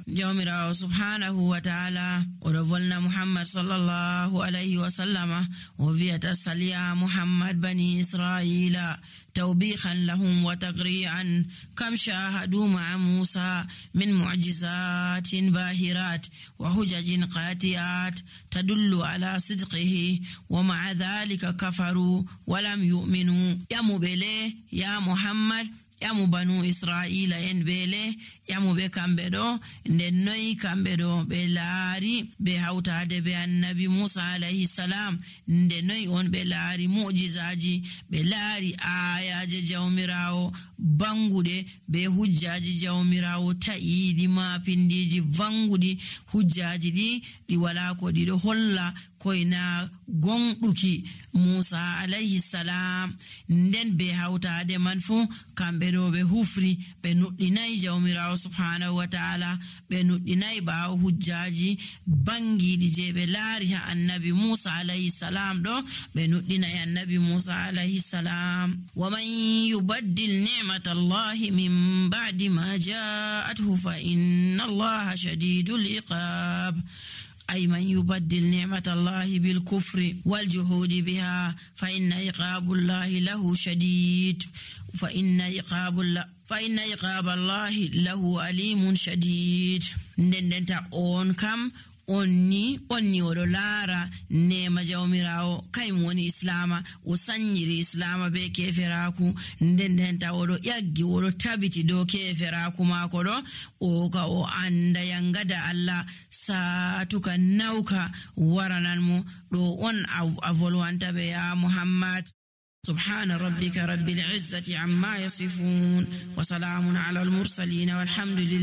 jawmirawo subhanahu wa ta'ala oɗo volna muhammad sallallahu alayhi wa sallama o wiyata saliya muhammad bani israila توبيخا لهم وتقريعا كم شاهدوا مع موسى من معجزات باهرات وحجج قاطعات تدل على صدقه ومع ذلك كفروا ولم يؤمنوا يا مبلي يا محمد yamu banu israila en bele yamu be kambe do nden noyi kambe do be laari be hawtade be annabi Musa alayhi salam nden noyi on be laari mu'jizaji be laari ayaje jawmirawo bangude be hujjaji jawmirawo ta'idi ma pindiji vangudi hujjaji di wala ko di do holla koina gonduki Musa alayhi salam nden be hawtade man fu kambe do be hufri be nuddinai jawmirawo subhanahu wa ta'ala be nuddinai ba hujjaji bangidi je be laari ha annabi Musa alayhi salam do be nuddinai annabi Musa alayhi salam wa man yubaddil ni'matallahi min ba'di ma ja'athu fa inna Allaha shadidul iqab أي من يبدل نعمة الله بالكفر والجحود بها فإن عقاب الله له شديد فإن عقاب الله له أليم شديد ندنتا أون كم onni oɗo laara nema jawmirawo kaymo woni islama o sanyiri islama be keferaku nden ta oɗo ƴaggi oɗo tabiti dow keferaku maako ɗo o ka o anda yangada Allah saatuka nawka warananmo ɗo on a volwanta be ya Muhammad. سبحان ربك رب العزة عما يصفون وسلام على المرسلين والحمد لله